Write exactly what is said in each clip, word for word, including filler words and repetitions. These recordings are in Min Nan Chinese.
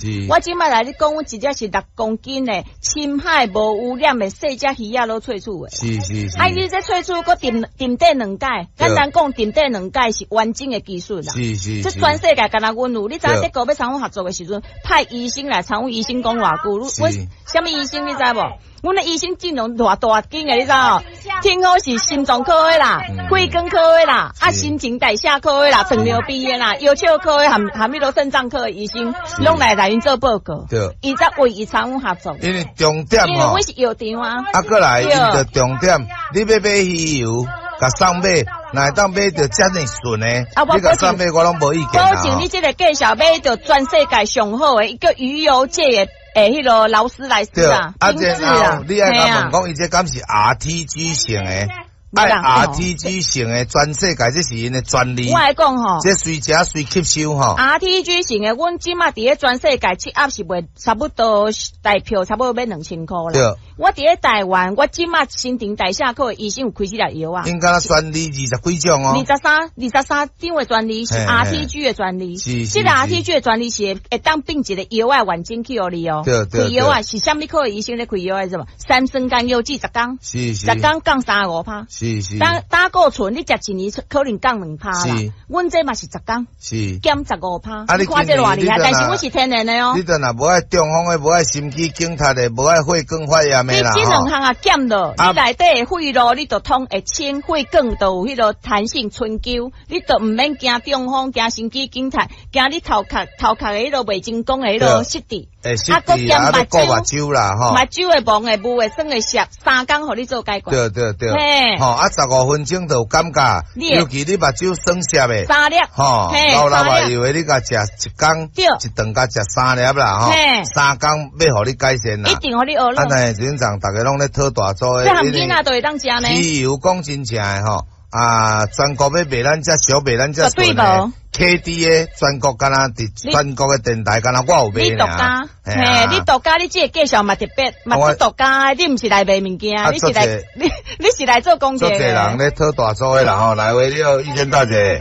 是。我這擺來你講，阮一隻是六公斤的，深海無污染的細隻魚仔囉萃取的。是是是。啊，你這萃取閣沉沉底兩擺，簡單講沉底兩擺是完整的技術啦。是是。這全世界干焦阮有，你知影德國欲參阮合作的時陣，派醫生來參阮醫生講偌久？阮啥物醫生你知無？阮的醫生陣容偌大間的，你知無？聽講是心臟科的啦，血管科的啦，啊，新陳代謝科的啦，糖尿病的啦，腰笑科的，含含彼囉腎臟科的醫生，攏來來𪜶做報告。對。伊才唯一參阮合作。因為重點因為阮是藥廠啊。啊，閣來，伊就重點，你欲買魚油，共送買，若會當買著遮爾順的，你共送買我攏無意見。保證你這个介紹買著全世界上好的，伊叫魚油界的。欸，彼个勞斯萊斯啊，啊，然後你愛共問講，伊這敢是 R T G 型的？愛 R T G 型的，全世界這是𪜶的專利。我來講吼，這隨食隨吸收吼。 R T G 型的，阮這馬佇咧全世界一盒是賣差不多台票差不多欲兩千箍啦。對。我佇咧台灣，我這馬新陳代謝科的醫生有開這粒藥啊。應該專利二十幾種哦。二十三、二十三種的專利是 R T G 的專利。是是。這个 R T G 的專利是會會當變一個藥仔完整去予你哦。對對。開藥啊是啥物科的醫生咧開藥仔是無？三酸甘油酯十工。是是。十工降三十五趴。是是。膽膽固醇你食一年可能降兩趴啦。是。阮這嘛是十工。是。減十五趴。啊，你看這偌厲害，但是阮是天然的哦。你若無愛中風的，無愛心肌梗塞的，無愛血管發炎的啦。你這兩項啊減落，你內底的血路你就通會清，血管就有彼个彈性春秋，你就毋免驚中風，驚心肌梗塞，驚你頭殼頭殼的彼个袂成功的彼个失智。會失智啊，閣顧目睭啦吼。目睭會蒙會霧會酸會澀，三工予你做解決。對對對。嘿。吼啊，十五分鐘就有感覺，尤其你目睭酸澀的。三粒。吼，老老油的你共食一工，一頓共食三粒啦吼。三工欲予你改善啦。一定予你學啊，那執行長，逐家攏咧討大組的。這含囡仔都會當食呢。魚油講真正的吼，啊，全國欲賣咱遮俗，賣咱遮順的。K D 的全國敢若佇全國的電台敢若我有賣你獨家，嘿，你獨家，你這個介紹嘛特別，嘛做獨家，你毋是來賣物件，你是來你你是來做工作的。足濟人咧討大組的啦吼，來話你好，醫生大姐，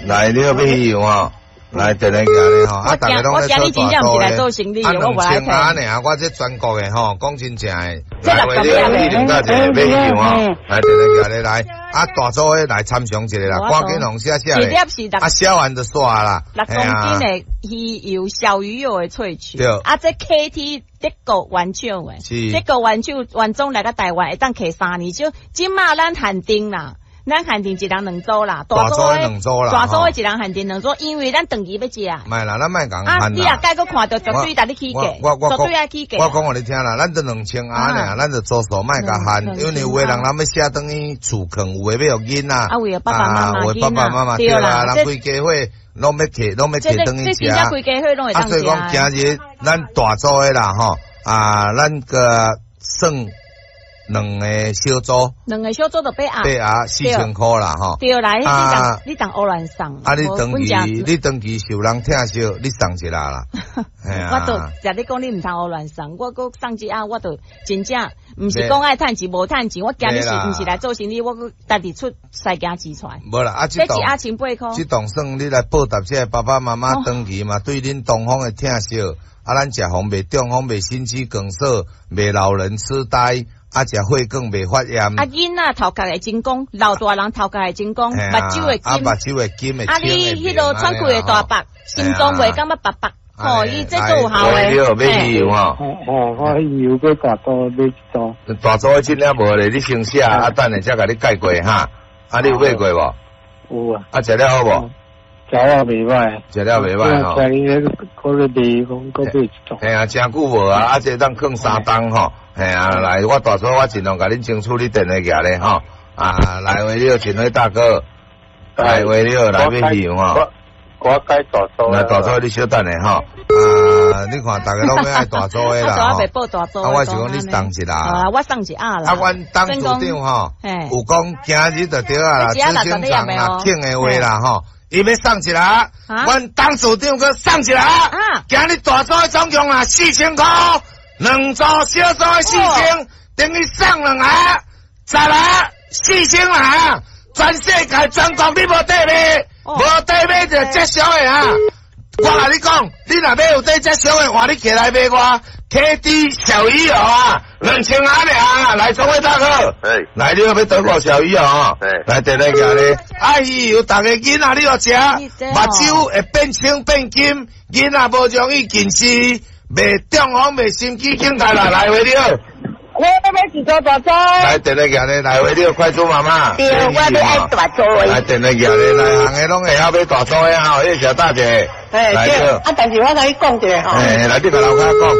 來你好欲魚油吼，來電來咧吼，啊，逐家攏咧討大組的，啊，兩千啊爾，我這全國的吼，講真正的，來話你好，醫生大姐欲魚油吼，來電來咧來。啊，大組的來參詳一下啦，趕緊予寫寫咧，啊，寫完就煞啦。六公斤的魚油，小魚油的萃取。對。啊，這 K T 德國原廠的，是。德國原廠原裝來到台灣會當摕三年，就這馬咱限定啦，咱限定一人兩組啦，大組的兩組啦，大組的一人限定兩組，因為咱長期欲食。莫啦，咱莫共限啦。啊，你若該閣看著絕對共你起價，絕對愛起價。我講予你聽啦，咱就兩千啊爾，咱就組數莫共限，因為有的人人欲寫轉去厝囥，有的欲予囡仔，啊，為了爸爸媽媽，為爸爸媽媽對啦，人規家伙攏欲摕，攏欲摕轉去食。啊，所以講今日咱大組的啦吼，啊，咱閣算。兩個小組，兩個小組就八盒，八盒四千箍啦吼。對來，你當你當烏亂送。啊，你長期你長期受人疼惜，你送一啦啦。我都食你講你毋通烏亂送，我閣送一盒，我就真正毋是講愛趁錢無趁錢，我今日是毋是來做生意，我閣家己出私家錢出來。無啦，啊，這一盒千八箍。這棟算你來報答這个爸爸媽媽長期嘛，對恁東方的疼惜。啊，咱食防袂中風，袂心肌梗塞，袂老人痴呆。啊，食血管袂發炎。啊，囡仔頭殼會成功，老大人頭殼會成功，目睭會金。啊，目睭會金會啊，你彼个喘氣會大白，心臟袂感覺白白，吼，伊這都有效的。你好，欲魚油吼。哦，我魚油閣大組買一組。大組的這領無咧，你先寫，啊，等下才共你蓋過哈。啊，你有買過無？有啊。啊，食了好無？食了袂䆀。食了袂䆀吼。食伊彼個閣咧賣，講閣買一組。嘿啊，誠久無啊，啊，這當囥三冬吼。嘿啊，來，我大組我盡量共恁爭取你電話寄咧吼。啊，來話你好，秦輝大哥，來話你好，來欲魚油吼。我改大組。來大組你小等下吼。啊，你看逐家攏欲愛大組的啦吼。啊，我是講你送一啦。啊，我送一盒啦。啊，阮董事長吼，有講今日就對啊啦，執行長啦，肯的話啦吼。伊欲送一盒，阮董事長閣送一盒。今日大組的總共啊四千箍，兩組小組的四千，等於送兩盒，十盒四千盒，全世界全國你無得買，無得買就這俗的啊！我共你講，你若欲有這遮俗的，換你起來賣我 K D 小魚油啊，兩千阿爾，來這位大哥，來你欲德國小魚油啊，來電來寄咧，啊魚油，逐个囡仔你欲食，目睭會變青變金，囡仔無容易近視，袂中風袂心肌梗塞啦，來喂你好。我欲買一組大組。來電來寄咧，來喂你好，快煮媽媽。對，我欲愛大組。來電來寄咧，內行的攏會曉買大組的吼，那個小大姐。嘿，對。啊，但是我共你講一下吼。嘿，來你共樓跤講。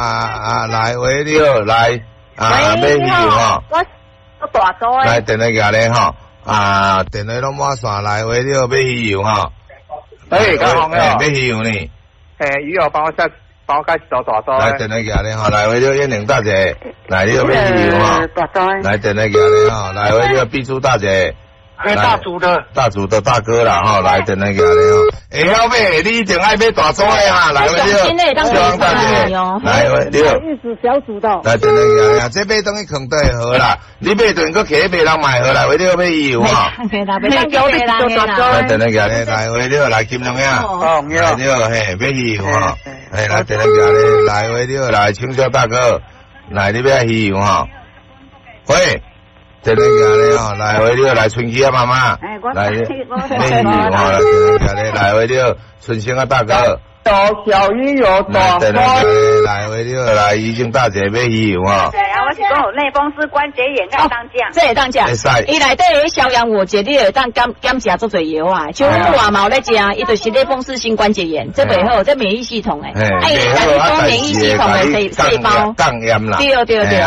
啊啊，來喂你好，來啊，買魚吼。我大組。來電來寄咧吼，啊，電話攏滿線，來喂你好，買魚油吼。哎，嘉宏啊。買魚油呢？嘿，魚油幫我下。幫我蓋一組大組。來電來寄咧吼，來喂你好，燕玲大姐，來你好買魚油吼。來電來寄咧吼，來喂你好，碧珠大姐。大族的。大族的大哥啦吼，來電來寄咧吼。會曉買，你一定愛買大組的哈，來喂你好，小王大姐，來喂你好。玉子小組的。來電來寄咧，這買當去囥佗會好啦，你買頓閣揢去賣人嘛會好，來喂你好買魚油吼。來電來寄咧，來喂你好，來金龍呀。來你好，嘿，買魚油吼。哎，來電來寄咧，來喂你好，來請教大哥，來你欲愛魚油吼？喂，電來寄咧吼，來喂你好，來春熙啊媽媽，來買魚油吼，來電來寄咧，來喂你好，春生啊大哥。有小魚油大來來來喂你好，來宜靜大姐買魚油吼。對啊，我是講有內風濕關節炎愛當食。這會當食。會使。伊內底有消炎活劑，你會當減減食足濟藥啊。像阮母啊嘛有咧食，伊就是類風濕性關節炎，這袂好，這免疫系統的。啊，伊講免疫系統的細細胞。降炎啦。對對對，嘿，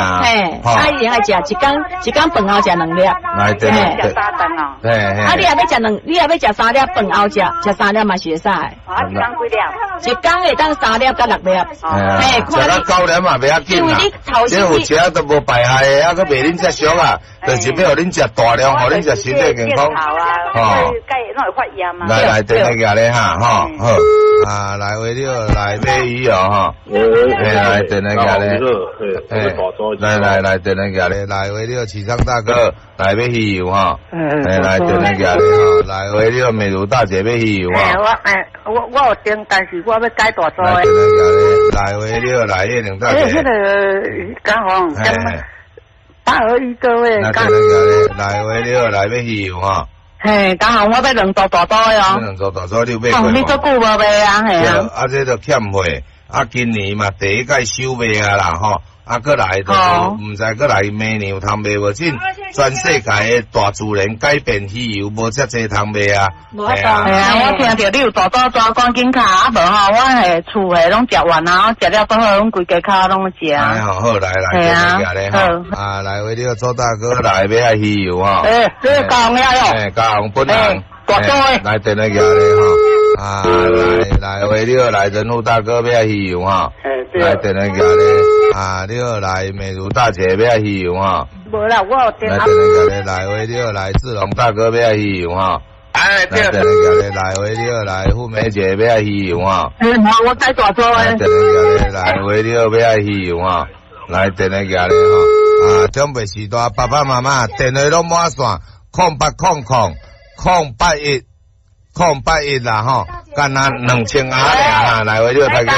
啊，一定愛食，一工一工飯後食兩粒。來對對。食三頓哦。嘿嘿。啊，你若欲食兩，你若欲食三粒飯後食，食三粒嘛是會使。啊，一工幾粒？一工會當三粒佮六粒，嘿，食到九粒嘛袂要緊啦。這有食都無排害的，啊，閣袂恁遮俗啊，就是欲予恁食大量，予恁食身體健康。吼，钙攏會發炎啊。來來，電來寄咧哈，吼好。啊，來喂你好，來買魚哦，吼。來電來寄咧。來來來，電來寄咧，來喂你好，市長大哥，來買魚油吼。來電來寄咧吼，來喂你好，美如大姐買魚油吼。我哎，我我有訂，但是我欲改大組的。來喂你好，來葉玲大姐。欸，彼个嘉宏，八合一個月。來來喂你好，來買魚油吼。嘿，嘉宏，我欲兩組大組的哦。兩組大組你有買過？你足久無賣啊，嘿啊。啊，這就欠貨，啊，今年嘛第一屆收賣啊啦吼。啊，閣來就毋知閣來明年有通賣無？這全世界的大自然改變，魚油無遮濟通賣啊！係啊，我聽著你有大肚紙趕緊卡，啊無吼，我的厝的攏食完啊，我食了拄好，阮規家口攏食。哎好，好來來，好啊，來喂，你個周大哥來欲愛魚油吼。欸，這個高雄的哦。欸，高雄本人。大組的。來電來寄咧吼，啊來來喂，你好，來仁富大哥欲愛魚油吼。來電來寄咧，啊你好，來美如大姐欲愛魚油吼。無啦，我有電。來電來寄咧，來喂你好，來志龍大哥欲愛魚油吼。哎，來電來寄咧，來喂你好，來富美姐欲愛魚油吼。欸，我改大組的。來電來寄咧，來喂你好，欲愛魚油吼。來電來寄咧吼，啊，長輩時代爸爸媽媽電話攏滿線，空八空空。空八一，空八一啦吼，干焦兩千仔爾啦，來喂你好大哥，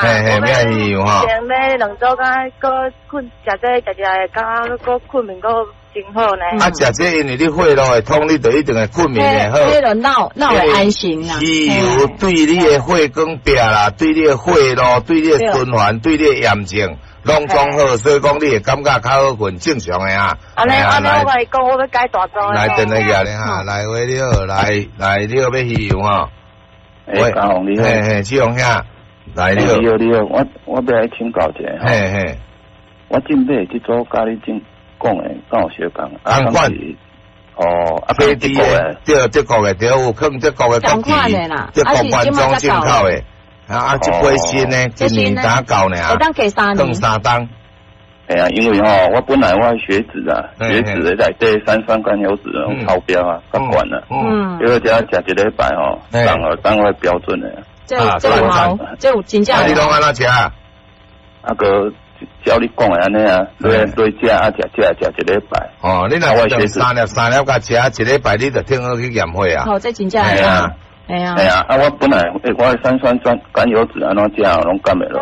嘿嘿，欲愛魚油吼。先買兩組，敢閣睏食這食食，感覺閣睏眠閣真好呢。啊，食這因為你血路會通，你就一定會睏眠會好。這就腦腦會安心啦。魚油對你的血管壁啦，對你的血路，對你的循環，對你的炎症。攏總好，所以講你會感覺較好睏，正常的啊。按呢按呢，我共你講，我欲改大組。來，電來寄咧哈，來喂你好，來來你好欲魚油吼。喂，嘉宏你好。嘿嘿，志宏兄，來你好。你好你好，我我欲來請教一下。嘿嘿，我進買這組佮你正講的，敢有相仝？仝款。哦，啊，德國的，對德國的，對有可能德國的國旗，德國原裝進口的。啊啊！這批新的，今年才到呢，會當過三年，當三冬。哎呀，因為吼，我本來我血脂啊，血脂的內底三酸甘油酯超標啊，較懸啊。嗯。因為這食一禮拜吼，降了單位標準的。這這有毛，這有真正。啊，你攏按怎食？啊閣照你講的按呢啊，對對食啊食食食一禮拜。哦，你若三粒三粒共食一禮拜，你就挺好去驗血啊。哦，這真正。嘿啊。嘿啊，啊我本來欸，我的三酸甘甘油酯按怎食攏減袂落。